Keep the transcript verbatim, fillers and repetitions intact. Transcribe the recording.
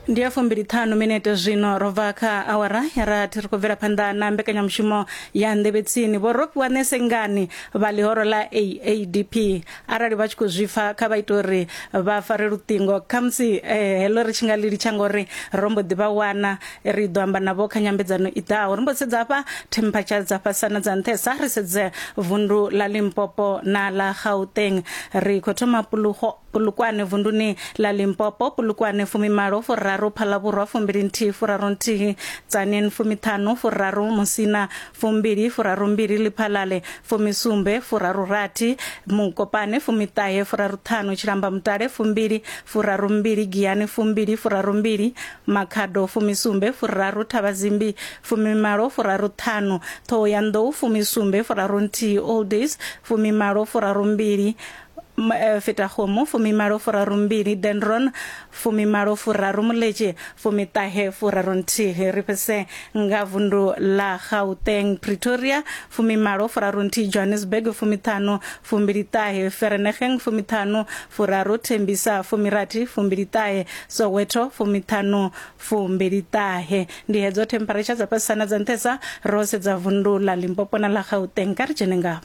Ndi ya fumbili ṱhanu minete zwino ro bva kha awara ya rathi, ri khou bvela phanḓa na mbekanyamushumo ya Nḓevhe Tsini. Vho Rofhiwa Nesengani vha ḽihoro ḽa A A D P, arali vha tshi khou zwi pfa, kha vha ite uri vha fare luṱingo. Khamusi eh, heḽo ri tshi nga ḽi litsha ngori ro mbo ḓi vha wana, ri ḓo amba navho kha nyambedzano i ḓaho. Ri mbo sedza hafha temperature dza fhasana dza nṱhesa. Ri sedze vundu ḽa Limpopo na ḽa Gauteng. Ri khou thoma Pulugo Polokwane vunduni ḽa Limpopo. Polokwane fumimalo furaru, Phalaborwa fumbili nthihi furaru nthihi, Tzaneen fumiṱhanu furaru, Musina fumbili furaru mbili, Lephalale fumisumbe furaru rathi, Mokopane fumiṱahe furaru ṱhanu, Tshilamba Mutale fumbili furaru mbili, Giyani fumbili furaru mbili, Makhado fumisumbe furaru, Thavhazimbi fumimalo furaru ṱhanu, Thohoyandou fumisumbe furaru nthihi, Old Days fumimalo furaru mbili, M- eh, Fetakgomo fumimalo furaru mbili, Dendron fumimalo furaru, Moletše fumiṱahe furaru nthihi. Ri fhese nga vundu ḽa Gauteng. Pretoria fumimalo furaru nthihi, Johannesburg fumiṱhanu fumbili ṱahe, Vereeniging fumiṱhanu furaru, Tembisa fumirathi fumbili ṱahe, Soweto fumiṱhanu fumbili ṱahe. Ndi hedzo temperature dza fhasisa na dza nṱhesa ro sedza vundu ḽa Limpopo na ḽa Gauteng. Kha ri dzhene ngavho.